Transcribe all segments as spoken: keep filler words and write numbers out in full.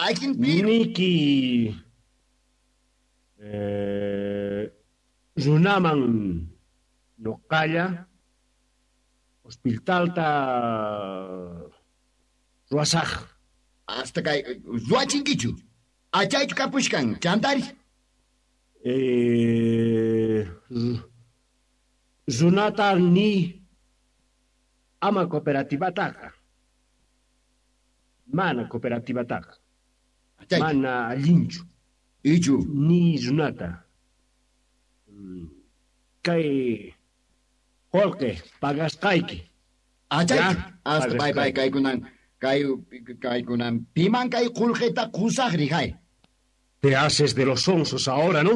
Allin piro. Niki eh, runaman noqalla hospitalta ruwasaj. Hasta kay ruwachinkichu. Achaychu kapushkan, chantari. Eh, runata ni ama cooperativataqa. Mana cooperativataqa. Achaychu. Mana allinchu. Ichu. Ni runata. Mm, Kay qullqi pagasqayki. Achaychu. Ya, Hasta bye bye pagasqayki. kaykunan kay kaykunan piman kay qullqita qusaqri hay. Te haces de los sonsos ahora, ¿no?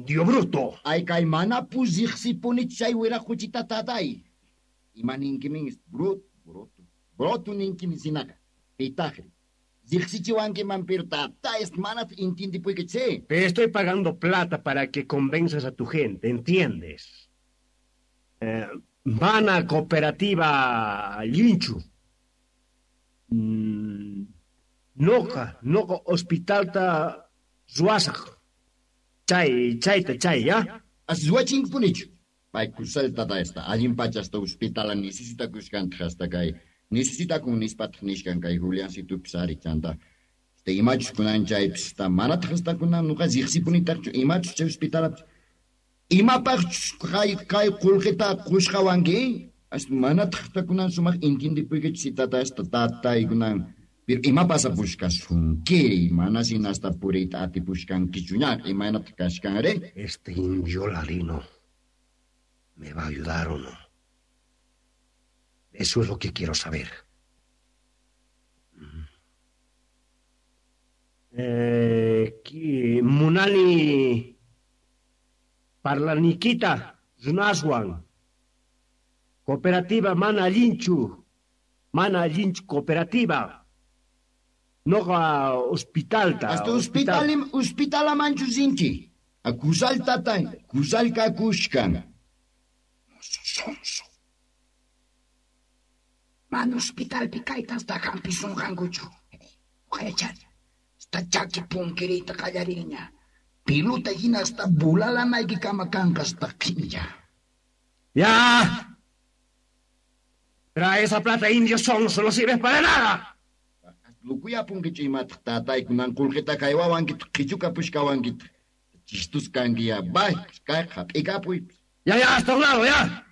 Dio bruto. Ay kay mana pusiqsipuni chay wiraquchita tatay. Ima ninkimin brut bruto. Bruto ninkimin sinaqa. Pitaqri. Riqsichiwankiman pero tatay mana intindipuyki che. Te estoy pagando plata para que convenzas a tu gente, ¿entiendes? Eh, mana cooperativa Linchu. Mm, noqa, noqa hospitalta ruwasaj. Chay, chayta, chay, ya? As ruwachinkipunichu. Pay kusal tatay esta allin pacha hasta hospitala necesitakushkantaq hasta kay necesitakun nispataq nishkan kay Juliancitupis ari chanta. Este imachus kunan chaypis esta manataq hasta kunan nuqa riqsipunitaqchu imachus chay hospitalapis. Imapaqchus kay kay qullqita qushqawanki? Hasta manataq hasta kunan sumaq intindipuykichu tata esta tatay kunan. Pero ima pasapushkasunkiri mana sina hasta puriyta atipushkankichuña imaynataq kashkanri. Este indio ladino me va a ayudar o no. Eso es lo que quiero saber. Eh, ki- Munani Parlaniquita runaswan. Cooperativa mana allinchu. Mana allinchu cooperativa. Noqa hospitalta. Hasta hospital hospitalamanchu rinki. A kusal tatay, kusal kakushkan. Mozo sonso. Mana hospitalpi kayta hasta hampisunqankuchu. Uqayachani. Hasta chaki punkiriyta qallarinña. Piluta hina hasta bulalaнаykikama kanqa hasta qhilla. ¡Ya! Trae esa plata, indio sonso, no sirves para nada. Lukuyapunkichu imataq tatay kunan qullqita kaywawankitaq qhichukapushkawankitaq. Chistus kanki ya, bay, kay hap'ikapuy. Ya, ya, hasta un lado, ya.